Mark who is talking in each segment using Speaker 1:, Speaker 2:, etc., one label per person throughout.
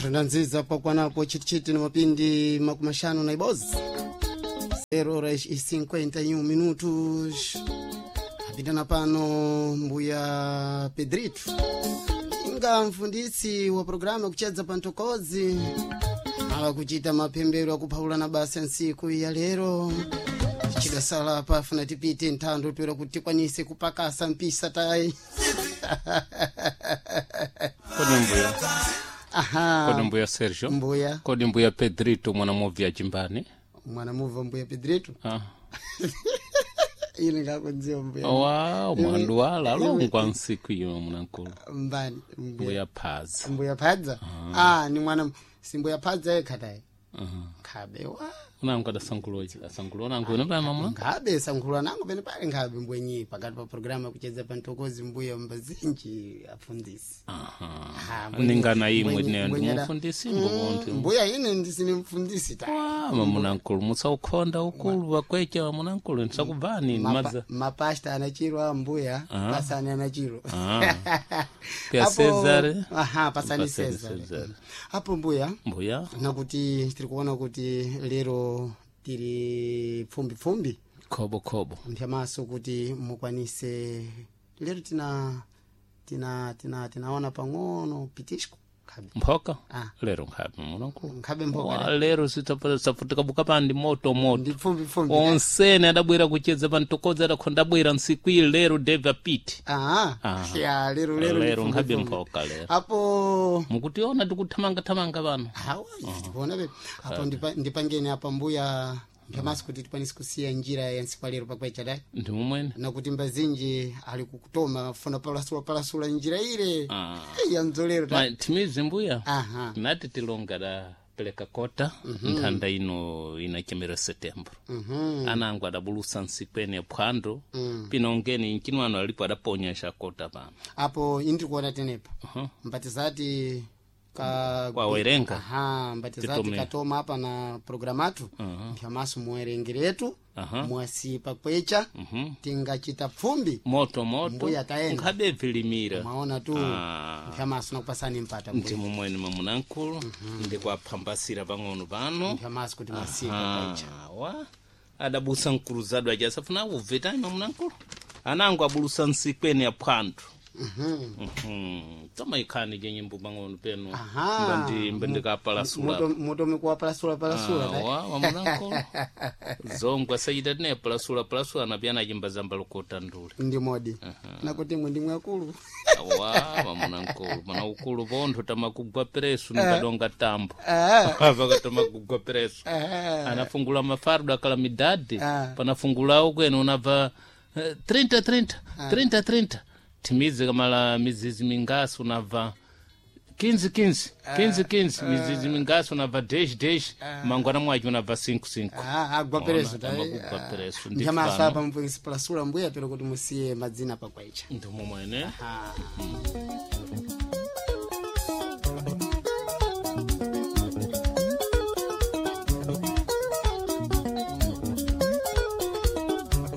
Speaker 1: Rinanziza pakwanapo chitichiti na mapindi makumashanu na ibozi 0 horas e 51 minutos. Apitana pano mbuya Pedrito inga mfundisi wa programu yakuchedza pantokozi ala kuchita mapembero akuphawulana basa nsiku ya lero chidasala pafuna tipite nthando toera kuti tikwanise kupakasa mpisa tayi.
Speaker 2: Kodi mbuya?
Speaker 1: Aha.
Speaker 2: Kodi mbuya Sergio?
Speaker 1: Mbuya.
Speaker 2: Kodi mbuya Pedrito mwana movya chimbani?
Speaker 1: Mwana muva mbuya Pedrito.
Speaker 2: Ah.
Speaker 1: Ili ngakudziwa mbuya.
Speaker 2: Wa mwandu wala alongwa nsiku iyo munankulu.
Speaker 1: Mbani mbuya?
Speaker 2: Mbuya Phaza.
Speaker 1: Mbuya Phadza. Ah, ni mwana si mbuya Phadza yekha tayi. Nkhabe wa.
Speaker 2: Unangu adasanguloji asangulo unangu unabaya mamuna.
Speaker 1: Nkhabe sankhulwa nangu pene pali nkhabe mbwenyi pakati pa programu yakuchedza pantokozi mbuya mbazinji afundisi.
Speaker 2: Aha.
Speaker 1: Ah, mbwenyi-
Speaker 2: Ningana imwe
Speaker 1: mbwenyi-
Speaker 2: ne
Speaker 1: mbwenyi ada-
Speaker 2: ndimufundisi mbonti.
Speaker 1: Mbuya ine ndisine mfundisi ta.
Speaker 2: Wa mamunankulu musaukhonda ukulu wakwecha mamunankulu nsakubvani madza.
Speaker 1: Mapasta anachiro a mbuya pasani anachiro.
Speaker 2: Ah. Pya
Speaker 1: Apo-
Speaker 2: Cesare.
Speaker 1: Aha, pasani
Speaker 2: Pasani
Speaker 1: Cesare.
Speaker 2: Cesare.
Speaker 1: Apo mbuya
Speaker 2: Mbuya
Speaker 1: nakuti tiri kuona kuti lero tiri pfumbipfumbi
Speaker 2: khobo khobo.
Speaker 1: mphyamaso kuti mukwanise lero tina tina tina tinaona pang'ono pitisco nkhabe.
Speaker 2: Mphoka?
Speaker 1: Ah.
Speaker 2: Lero nkhabe mamunankulu.
Speaker 1: Nkhabe mphoka.
Speaker 2: Wa lero sitafutika buka pandi moto moto.
Speaker 1: Ndi pfumbipfumbi.
Speaker 2: Onsene adabwera kuchedza pantokodza adakhonda abwera nsiku iyi lero Dave apite.
Speaker 1: Aha.
Speaker 2: Ah.
Speaker 1: Ya lero lero ndi
Speaker 2: Lero nkhabe
Speaker 1: pfumbipfumbi.
Speaker 2: mphoka lero.
Speaker 1: Apo
Speaker 2: Mukutiona tikuthamangathamanga pano.
Speaker 1: hawa tikuona pe apo ndipangeni apa mbuya mphyamaso kuti tikwanise kusiya njira ya nsiku lero pakwecha dai.
Speaker 2: Ndi mumwene.
Speaker 1: Nakuti mbazinji ali kukutoma funa palasula palasula njira ile
Speaker 2: Ah.
Speaker 1: ya mdzolero ta.
Speaker 2: Ma timizi mbuya.
Speaker 1: Aha.
Speaker 2: Nati tilonga da peleka kota nthanda ino inachemera setembro. Anangu adabulusa nsiku ene phwando. Pinongeni nchinu alipo adaponya kota pano.
Speaker 1: Apo indiri kuona tenepa.
Speaker 2: Aha.
Speaker 1: Mbatizati ka
Speaker 2: Kwawerenga.
Speaker 1: Aha, mbatizati
Speaker 2: Titume.
Speaker 1: katoma apa na programatu mphyamaso muwerengeretu.
Speaker 2: Aha.
Speaker 1: Mwasipa kwecha tingachita pfumbi.
Speaker 2: Moto moto.
Speaker 1: Mbuya taenda.
Speaker 2: Nkhabe vilimira.
Speaker 1: Mwaona tu.
Speaker 2: Ah.
Speaker 1: Mphyamaso nakupasani mpata mbuya.
Speaker 2: Ndi mumwene mamunankulu ndikuaphambasira pang'ono pano.
Speaker 1: Mphyamaso kuti mwasipa kwecha.
Speaker 2: Ah, wa adabusa mkuluzadu aja asafuna ubve tayi mamunankulu anangu abulusa nsikwene ya phwando. Toma ikhani je nyimbo pang'ono peno.
Speaker 1: Aha.
Speaker 2: Mbandikapalasula.
Speaker 1: Mutome kuwapalasula palasula ta.
Speaker 2: Wa mamunankulu zongwe asachita tine palasula palasula napiyana chimba zamba lokota ndule.
Speaker 1: Ndi modi nakuti mwe ndimwe akulu.
Speaker 2: Wa mamunankulu mana ukulu pontho tamakugwa peresu nikadonga tambo.
Speaker 1: Ah.
Speaker 2: Pakatamakugwa peresu.
Speaker 1: Ah.
Speaker 2: Anafungula mafardo akala midadi.
Speaker 1: Ah.
Speaker 2: Panafungulawo kwene unabva 30 30 30 30 timize kamala mizizi mingasi unabva 15 15 15 15 mizizi mingasi unabva 10 10 mangwana mwacho unabva 5 5.
Speaker 1: Ah, agwa peresu ta.
Speaker 2: Amagugwa peresu ndi
Speaker 1: Mphyamaso
Speaker 2: pano.
Speaker 1: apa mupasula mbuya pero kuti musiye madzina pakwecha.
Speaker 2: Ndimumwene.
Speaker 1: Ah.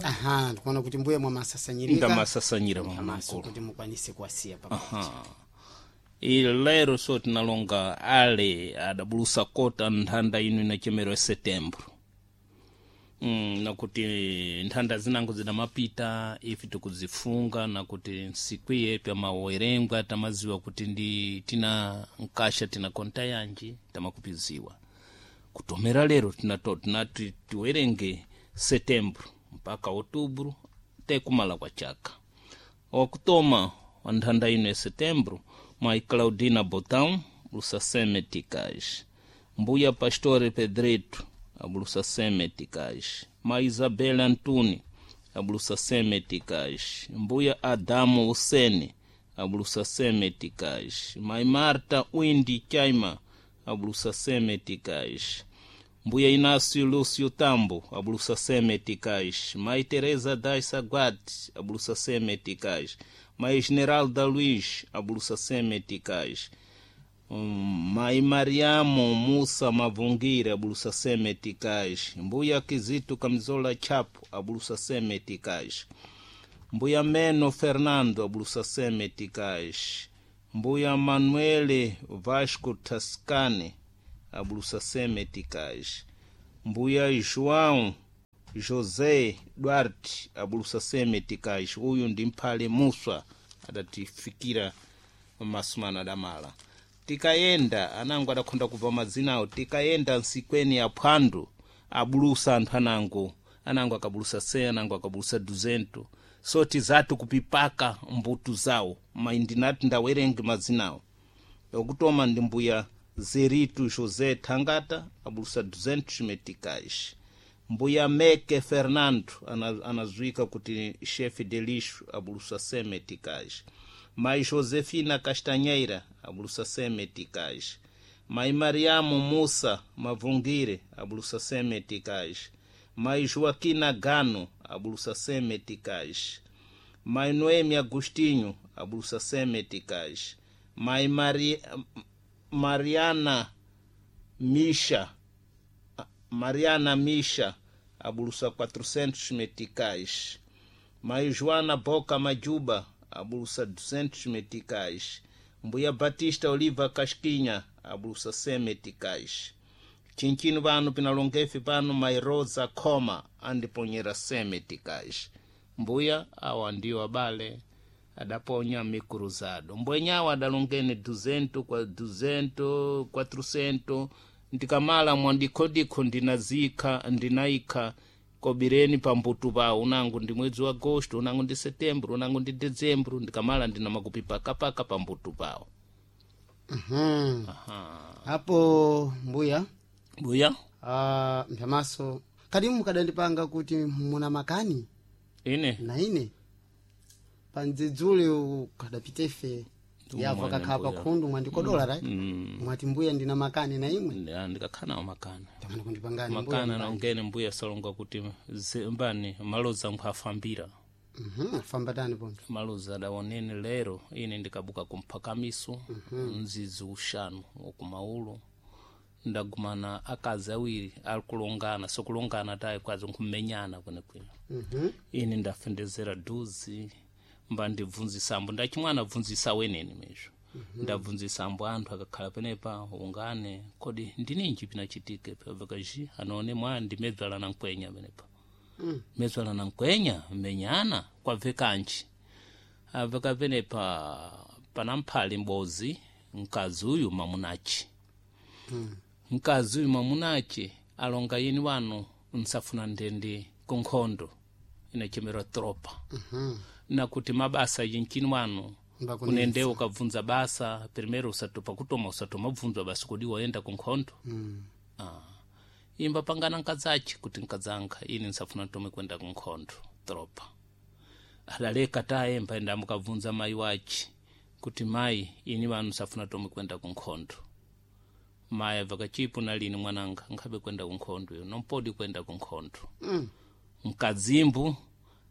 Speaker 1: Aha, ndikuona kuti mbuya mwamasasanyirika.
Speaker 2: Ndamasasanyira
Speaker 1: Mphyamaso
Speaker 2: mamunankulu.
Speaker 1: kuti mukwanise kuwasiya pakwecha.
Speaker 2: Ili lero so tinalonga ale adabulusa kota nthanda ino inachemero ya setembro. Nakuti nthanda zinango zidamapita ife tikuzifunga nakuti nsiku iye pyamawerengwa tamaziwa kuti ndi tina nkasha tina konta yanji tamakupiziwa kutomera lero tinati tiwerenge setembro mpaka outubro tekumala kwa chaka. Wakutoma wa nthanda ino ya setembro mai Claudina Botão bulusa meticais, mbuya Pastore Pedrito abulusa meticais, mai Isabela Antuni abulusa meticais, mbuya Adamu Usene abulusa meticais, mai Marta Windi Chaima abulusa meticais, mbuya Inácio Lúcio Tambo abulusa meticais, mai Teresa das Saguate abulusa meticais, mai Esmeralda Luiz abulusa meticais, mai Mariamo Musa Mavungire abulusa meticais, mbuya Kizito Camisola Chapo abulusa meticais, mbuya Meno Fernando abulusa meticais, Mbuya Manuele Vasco Tascane abulusa 100 meticais. Mbuya João José Duarte abulusa 100 meticais. Uyu ndi mphale Muswa adatifikira masumano adamala. Tikayenda anango adakhonda kubva mazinawo. Tikayenda nsikweni ya phwando abulusa anthu anango, anango akabulusa 100, anango akabulusa 200. So tizati kupipaka mbutu zawo. Ma ndinati ndawerenge mazinawo. Yokutoma ndi mbuya Zerito José Thangata abulusa 200 meticais. Mbuya Meke Fernando anazuika kuti chefe de lixo abulusa 100 meticais. Mai Josefina Castanheira abulusa 100 meticais. Mai Mariamo Musa Mavungire abulusa 100 meticais. Mai Joaquina Gano abulusa 100 meticais. Mai Noemi Agostinho abulusa 100 meticais. Mai Mariana Misha Mariana Misha abulusa 400 meticais. Mai Joana Boca Majuba abulusa 200 meticais. Mbuya Batista Oliva Casquinha abulusa 100 meticais. Chinchino pano pinalongefe pano Mai Rosa Coma andiponyera 100 meticais. Mbuya awa ndiwo abale adaponya mikruzado. Mbwenyawo adalongene 200 kwa 200 400. Ndikamala mwandikhodikho ndinazikha ndinayikha kobireni pambutu pawo. Unango ndi mwezi wa agosto, unango ndi setembro, unango ndi dezembro. Ndikamala ndina makupi pakapaka pambutu pawo.
Speaker 1: Apo mbuya
Speaker 2: Mbuya
Speaker 1: mpyamaso kadi mukadandipanga kuti muna makani
Speaker 2: ine
Speaker 1: na ine pandzidzule ukadapita ife yapo akakhala pakhundu mwandikodola right? Mwati mbuya ndina makani na imwe.
Speaker 2: Ndikakhala nawo makani.
Speaker 1: Tamani kundipangani mbuya.
Speaker 2: Makani anaongene mbuya salonga kuti mbani maloza nkhafambira.
Speaker 1: Afamba tani pontho.
Speaker 2: Maloza adaonene lero ine ndikabuka kumphakamiso mzizi ushanu wakumaulo ndagumana akazi awiri alikulongana sokulongana tayi kwazi nkumenyana kwenekwene. Ine ndafendezera duzi mba ndibvunzisambo ndachimwana bvunzisa wenene mezvo. Ndabvunzisambo anthu akakhala penepa ungane kodi ndininji pinachitike pavakaji anaone mwa ndimedzala na nkwenya penepa. Medzala na nkwenya menyana kwabve kanji aveka penepa panamphali mbozi mkazi uyu mamunachi. Mkazi uyu mamunachi alonga yini wanu nsafuna ndende kunkhondo inachemera tropa. Nakuti mabasa yinchini wanu kunende ukabvunza basa primeiro usatopa kutoma usatoma bvunzwa basa kodi waenda kunkhondo. Imba pangana nkadzachi kuti nkadzanga ini nsafuna ntome kwenda kunkhondo tropa. Adaleka taye mpaenda mukabvunza mayi wachi kuti mayi ini wanu nsafuna tome kwenda kunkhondo. Mayi abvaka chipo nalini mwananga nkhabe kwenda kunkhondo iyo nompodi kwenda kunkhondo. Mkadzimbu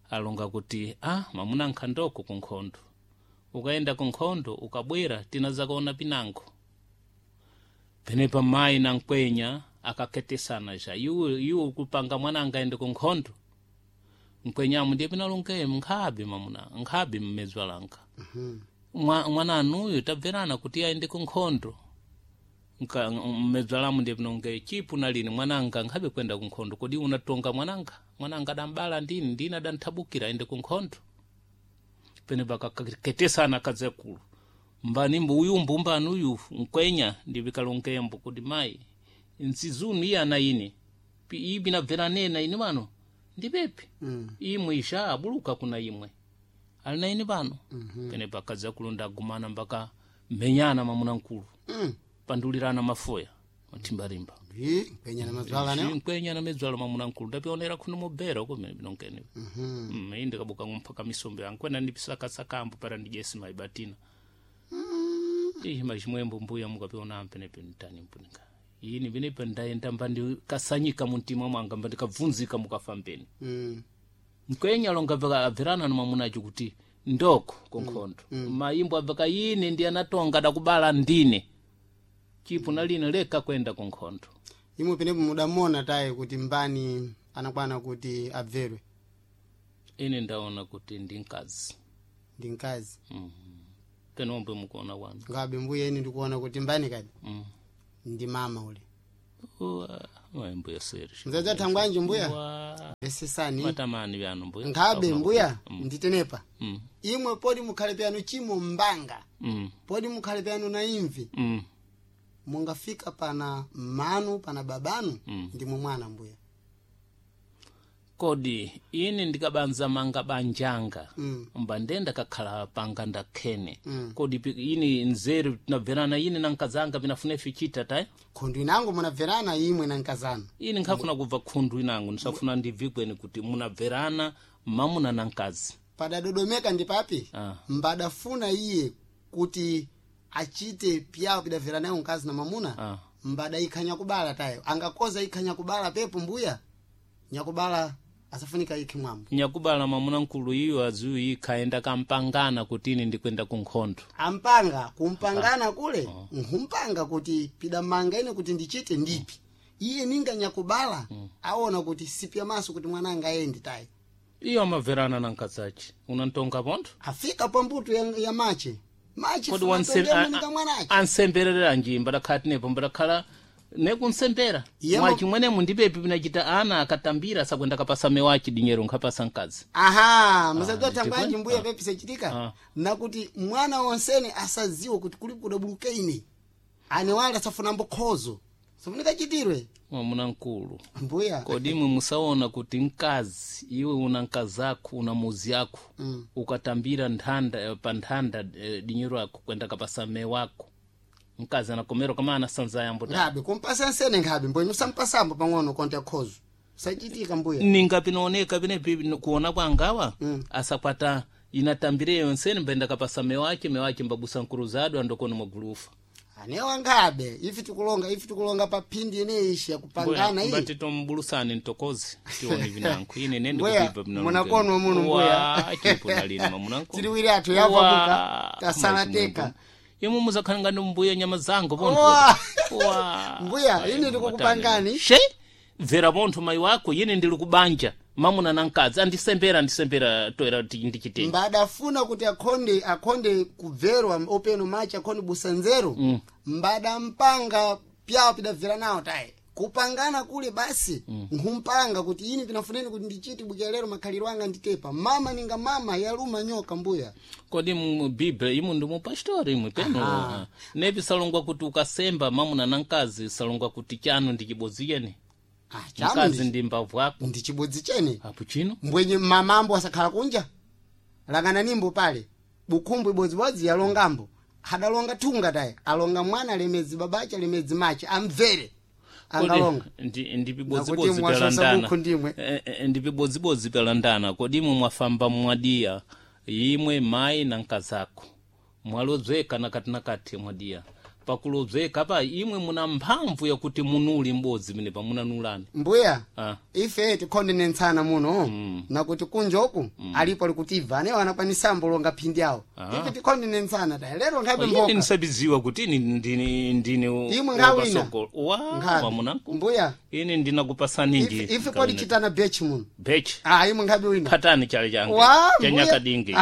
Speaker 2: alonga kuti mamuna nkhandoko kunkhondo ukaenda kunkhondo ukabwera tinazakaona pinango. Penepa mayi na nkwenya akaketesana ja iwe iwe kupanga mwananga aende kunkhondo. Nkwenyamu ndiye pinalongeye nkhabe mamuna nkhabe mmedzwa langa. Mwana anuyo tabverana kuti aende kunkhondo. Mmedzwa lamu ndiye pinongeye chipu nalini mwananga nkhabe kwenda kunkhondo kodi unatonga mwananga mwananga adambala ndini ndini adanthabukira aende kunkhondo. Penepa kaketesana kadzakulu mbani mbu uyu mbumbani uyu nkwenya ndivikalongembo kuti mayi nzizunu iye ana ine iyi binabvera nena ine pano ndipepi. Imwe isha abuluka kuna imwe ali na ine pano. Penepa kadzakulu ndagumana mpaka menyana mamuna nkulu. Pandulirana mafoya mathimbarimba.
Speaker 1: Nkwenya na madzwala ne.
Speaker 2: Nkwenya na medzwala mamuna nkulu ndapionera kuno mubera uko mene binonkene. Ine ndikabuka mpaka misombe yangu kwena ndipisakasakambo para ndijesi maibatina. Ihi machimwembo mbuya mukapiona ampenepe ntani mpunika. Ini penepe ndaenda mba ndikasanyika muntima mwanga mba ndikabvunzika mukafambeni. Nkwenya longa abverana no mamunacho kuti ndoko kunkhondo. Mayimbo abveka ine ndi anatonga dakubala ndine. Chipo naline leka kwenda kunkhondo.
Speaker 1: Imwe penepo mudamona tayi kuti mbani anakwana kuti abverwe.
Speaker 2: Ine ndaona kuti ndi mkazi.
Speaker 1: Ndi mkazi.
Speaker 2: Penombwe mukuona kwanu.
Speaker 1: Ngabe mbuya ine ndikuona kuti mbani kadi ndi mama ule.
Speaker 2: Wa mbuya Sergio.
Speaker 1: Mzazi thangwanji mbuya?
Speaker 2: Wa
Speaker 1: Besesani.
Speaker 2: matamani vyanu mbuya.
Speaker 1: Nkhabe mbuya nditenepa. Imwe podi mukhale pyanu chimo mbanga. Podi mukhale pyanu na imvi. Mungafika pana manu pana babanu ndimwe mwana mbuya.
Speaker 2: Kodi ini ndikabanza manga banjanga mba ndenda kakhala panga ndakhene. Kodi ini nzeru tinabverana ine na nkazanga pinafuna fichita tayi.
Speaker 1: Khundu inango munabverana imwe na nkazana.
Speaker 2: Ini nkhafuna kubva khundu inango ndisafuna ndibvikweni kuti munabverana mamuna na nkazi.
Speaker 1: Padadodomeka ndi papi? Mbadafuna iye kuti achite pyawo pidabvera nayo mkazi na mamuna. Mbada ikhanya kubala tayo angakoza ikhanya kubala pepo mbuya nyakubala asafunika ikhi mwambo.
Speaker 2: Nyakubala mamuna nkulu iyo aziyu ikhaenda kampangana kuti ine ndikwenda kunkhondo.
Speaker 1: Ampanga kumpangana kule nkhumpanga kuti pidamanga ine kuti ndichite ndipi. Iye ninga nyakubala aona kuti sipya maso kuti mwana ayendi tayi.
Speaker 2: Iyo amabverana na nkazachi unantonga pontho.
Speaker 1: Afika pambuto ya mache mache
Speaker 2: Kodi
Speaker 1: mwana
Speaker 2: ansemberera njimba dakhala tinepo mbadakhala nekunsembera mwachi mwenemu ndipepi pinachita ana akatambira asakwenda kapasa mewachi dinyero nkhapasa mkazi.
Speaker 1: Aha, musadziwa thangwanji mbuya pepi sechitika nakuti mwana wonsene asadziwe kuti kuli kudabuluka ine ane wale asafuna mbokhozo safunika chitirwe.
Speaker 2: Mwamuna nkulu
Speaker 1: mbuya.
Speaker 2: Kodi imwe musaona kuti mkazi iwe una mkazi ako una muzi ako ukatambira nthanda pa nthanda dinyero ako kwenda kapasa mewako mkazi anakomera kama anasanza yambo ta.
Speaker 1: Nkhabe kumpasa nsene nkhabe mboyi nusampasambo pang'ono konta khozo sachitika mbuya.
Speaker 2: Ninga pinaoneka pinepi kuona kwangawa asakwata inatambireyo nsene mbaenda kapasa mewache mewache mbabusa nkuruzado andokoni mwagulufa.
Speaker 1: Anewa nkhabe ifi tikulonga pa phindi ineyi yakupangana iyi.
Speaker 2: Mbati tombulusani ntokozi tione vinanku ine nende
Speaker 1: Mbuya,
Speaker 2: kupipa
Speaker 1: munakonwa muno mbuya.
Speaker 2: Chipo nalini mamunanku.
Speaker 1: Tiliwiri athu yavabuka tasala teka.
Speaker 2: Imwe muzakhala ngati mbuya nyama zangu pontho.
Speaker 1: Wa. Mbuya, ine ndikukupangani.
Speaker 2: She bvera pontho mayi wako ine ndili kubanja mamuna na mkazi andisembera toera ndichitenge.
Speaker 1: Mbadafuna kuti akhonde kubverwa openo machi akhonde busa nzeru. Mbadampanga pyawo pidabvera nawo tayi kupangana kule basi nkhumpanga kuti ine pinafuneni kuti ndichite bukira lero makhaliro anga nditepa mama ninga mama yaluma nyoka mbuya.
Speaker 2: Kodi mu biblia imu ndi mupastori imwe peno nepi salongwa kuti ukasemba mamuna na mkazi salongwa kuti chanu ndi chibodzi chene. Mkazi ndi mbavu ako
Speaker 1: ndi chibodzi chene.
Speaker 2: Apo chino
Speaker 1: mbwenye mamambo asakhala kunja langana nimbo pale bukhumbu ibodzibodzi yalongambo adalonga thunga tayi alonga mwana alemedzi babache alemedzi mache amvere angalonga.
Speaker 2: Ndi
Speaker 1: mwasosa bukhu ndimwe.
Speaker 2: Ndi pibodzibodzi palandana. Kodi imwe mwafamba mwadiya imwe mayi na mkazako mwalodzeka nakati nakati mwadiya pakulodzeka pa imwe muna mphamvu yakuti munuli m'bodzi mene pamunanulani.
Speaker 1: Mbuya ife tikhondenetsana muno nakuti kunja uku alipo alikutiva anewo anakwanisambo longa phindi awo. Ife tikhondenetsana tayi lero nkhabe
Speaker 2: ine
Speaker 1: mboka.
Speaker 2: Ndisabiziwa kuti ine ndine
Speaker 1: Imwe nkhawina.
Speaker 2: wa
Speaker 1: Nkhabe.
Speaker 2: wamunanku.
Speaker 1: Mbuya
Speaker 2: ine ndinakupasani nji
Speaker 1: ife kodi chitana bechi muno.
Speaker 2: Bechi.
Speaker 1: Imwe nkhabe wina.
Speaker 2: Phatani chale change
Speaker 1: Wa,
Speaker 2: cha
Speaker 1: mbuya.
Speaker 2: nyakadingi.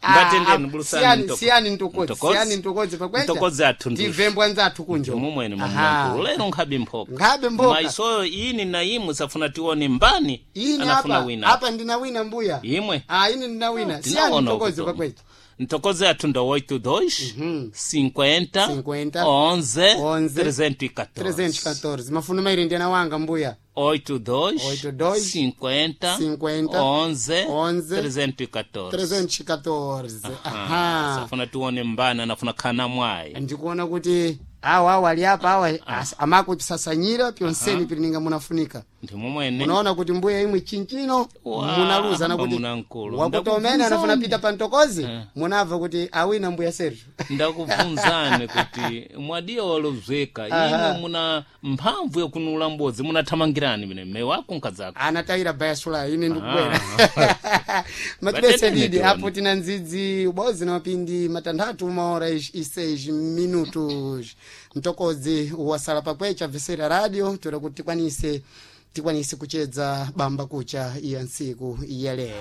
Speaker 2: Mbatendeni bulusani
Speaker 1: Siyani ntokodzi siyani ntokodzi pakwecha
Speaker 2: ntokodzi athu ndushi.
Speaker 1: tivembwa nzathu kunjo
Speaker 2: mumwene mamunanku lero nkhabe mphoka.
Speaker 1: Nkhabe mboka.
Speaker 2: Maisoyo ini na imwe safuna tione mbani
Speaker 1: Ine
Speaker 2: anafuna
Speaker 1: apa
Speaker 2: wina.
Speaker 1: apa ndinawina mbuya.
Speaker 2: Imwe
Speaker 1: Ine ndinawina siyani
Speaker 2: Tinaona
Speaker 1: ntokodzi
Speaker 2: ukuto.
Speaker 1: pakwecha.
Speaker 2: Ntokozi athu ndo 82 50
Speaker 1: 50
Speaker 2: 11
Speaker 1: 11
Speaker 2: 314
Speaker 1: 314 mafuno mairi ndiyana wanga mbuya.
Speaker 2: 82
Speaker 1: 82
Speaker 2: 50
Speaker 1: 50
Speaker 2: 11
Speaker 1: 11
Speaker 2: 314
Speaker 1: 314. Aha.
Speaker 2: Safuna tione mbani anafuna khana mwayi.
Speaker 1: Ndikuona kuti awa awa ali apa awa amakupisasanyira pyonseni pilininga munafunika.
Speaker 2: Ndimomwene.
Speaker 1: Munaona kuti mbuya imwe chinchino
Speaker 2: Wa,
Speaker 1: munaluza nakuti
Speaker 2: mwamuna-mkulu.
Speaker 1: wakuti omene anafuna pita pa ntokozi
Speaker 2: Eh.
Speaker 1: munabva kuti awina mbuya Sergio.
Speaker 2: Ndakubvunzani kuti mwadiya walobzeka imwe muna mphamvu yakunula mbodzi munathamangirani mene mme wako nkadzako.
Speaker 1: Anatayira bayasula ine ndikubwera matibese
Speaker 2: Batete
Speaker 1: didi
Speaker 2: netiona.
Speaker 1: apo tina ndzidzi ubodzi na mapindi matanthatu uma hora e seis minutos mtokodzi wasala pakwecha vesera radio toera kuti tikwanise kuchedza bamba kucha iya ntsiku ya lero.